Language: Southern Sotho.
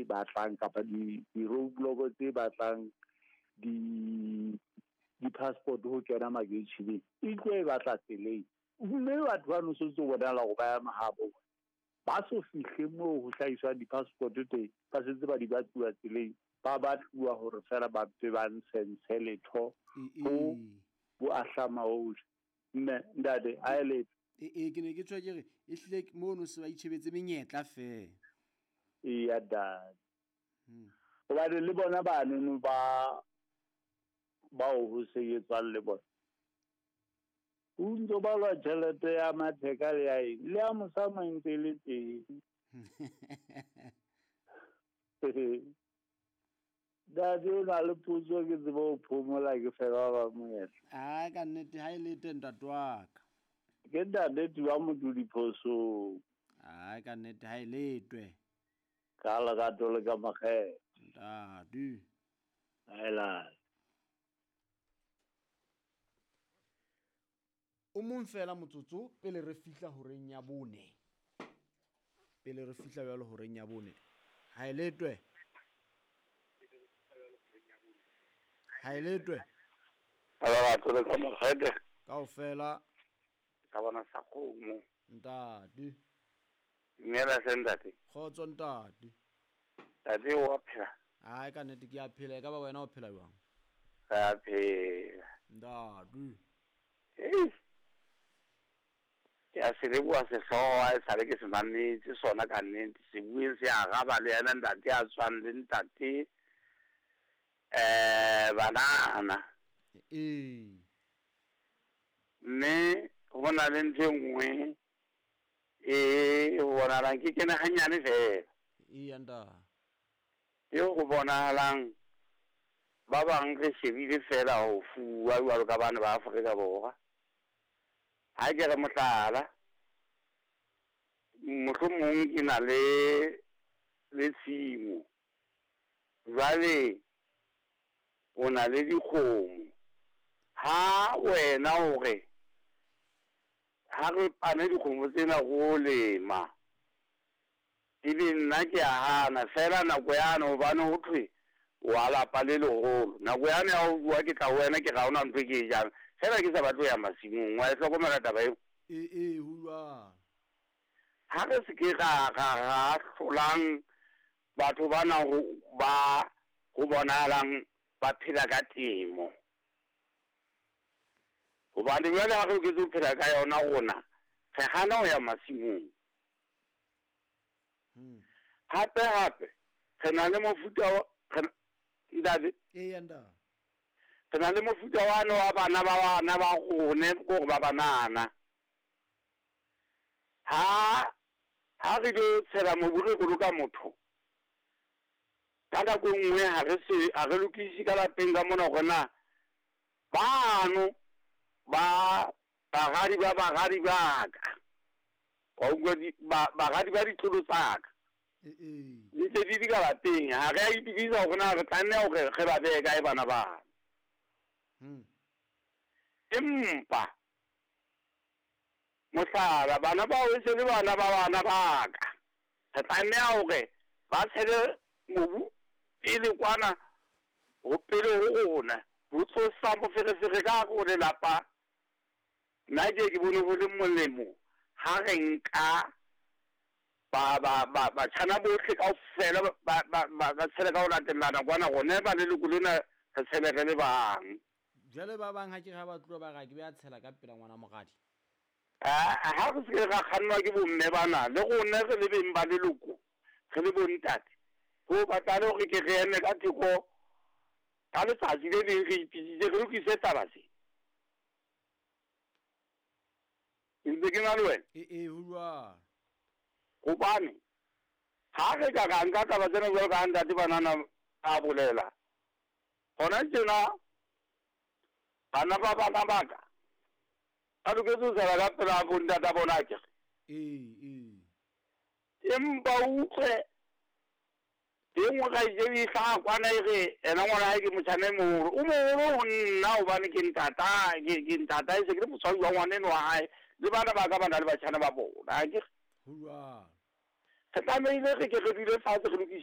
batlang kapa di-roadblock tse batlang di-passport ho kena makeisheneng e tlo e batla tseleng. Mme batho ba no setse bonahala hore ba ya mahabo bona. Ba so fihle moo ho hlahiswang di-passport teng, ba setse ba di batluwa tseleng, ba batluwa hore fela ba mpe ba ntshe letho ho bo ahlama ohle. Mme ntate ha e letho. Ee, ke ne ke tswa ke re e hlile mono se ba itjhebetse menyetla feela. Eya ntate. Hobane le bona banono ba bao ho sebetswang le bona, o ntso balwa tjhelete ya matheka le ya eng, le ya mosamo e ntse e le teng. Ntate o na le potso ke tsebe ho phomola ke fela ba monyetla. Ai ka nnete ha e lete ntate wa ka. Ke ntate Tiwa motho diphosong. Ai ka nnete ha e letwe. Ka lerato le ka makgethe. Ntate. Aelane. O mong fela motsotso pele re fihla horeng ya bone. Pele re fihla jwalo horeng ya bone. Ha e letwe. Ha e letwe. Ka lerato le ka makgethe. Kaofela. Ka bona sa kgomo. Ntate. Dumela hle ntate. Kgotso ntate. Ntate wa phela? Ai ka nnete ke a phela, e ka ba wena o phela jwang? Re a phela. Ntate. Ei. Ke a se leboha sehlooho ha esale ke se mametse sona ka nnete. Se bueng se araba le yena ntate a tswang le ntate banana. Ee. Mme ho na le ntho e nngwe e ho bonahalang ke kene hanyane fela. Eya ntate. Eo ho bonahalang ba bang re shebile fela ho fuwa jwalo ka bana ba Afrika Borwa. Ha ke re mohlala, mohlomong ke na le tshimo. Jwale o na le dikgomo. Ha wena hore ha re pane dikgomo tsena go lema, ebe nna ke a hana fela nako yane hobane ho thwe wa lapa le leholo. Nako yane ya ho bua ke tla ho wena ke ra hona ntho e ke e jang. Fela ke sa batle ho ya masimong. Wa e hlokomela taba eo? Ee, ho jwalo. Ha re se ke ra hlolang batho bana ho ba ho bonahalang ba phela ka temo. Hobane jwale ha re loketse ho phela ka yona rona, re hana ho ya masimong. Hape hape re na le mofuta wa ntate. Eya ntate. Re na le mofuta wane wa bana ba bana ba rone kore ba banana. Ha re lo tshela mobu re boloka motho. Ka nako e nngwe ha re lokise ka lapeng ka mona hore na bano ba baradi ba baradi ba ka. Wa utlwa baradi ba ditlolo tsa ka. Di ntse di di ka lapeng, ha re a itokisa hore na re tlameha hore re ba behe kae bana bano. Empa mohlala bana bao e se le bana ba bana ba ka. Re tlameha hore ba tshele mobu pele kwana ho pele ho rona. Ho tlosa moferefere ka hare ho lelapa. Nna ke bone ho le molemo ha re nka batjhana bohle kaofela ba tshele ka ho latellana kwana rona ba leloko lena re tshele re le bang. Jwale ba bang ha ke re ha ba tloha ba re ha ke be a tshela ka pela ngwana moradi. Ha re se ke ra kgannwa ke bomme bana le rona re le beng ba leloko re le bontate. Ho batla le hore ke re eme ka theko ka letsatsi le leng re ipitsitse re lokise taba tse. Ntse ke na le wena? Ee, ho jwalo. Hobane ha re ka ra nka taba tsena jwalo ka ha ntate banana a bolela. Hona tjena bana ba bana ba ka ba loketse ho sala ka pela bontata bona akere. Ee. Empa o utlwe e nngwe kgaitsedi e hlaha kwana e re ena ngwana hae ke motjhana e moholo. O moholo ho nna hobane ke ntata, ke ntata e se ke le motswadi wa ngwana eno wa hae. Le bana ba ka ba na le batjhana ba bona akere. Ho jwalo. Re tlamehile re ke re dule fatshe re lokise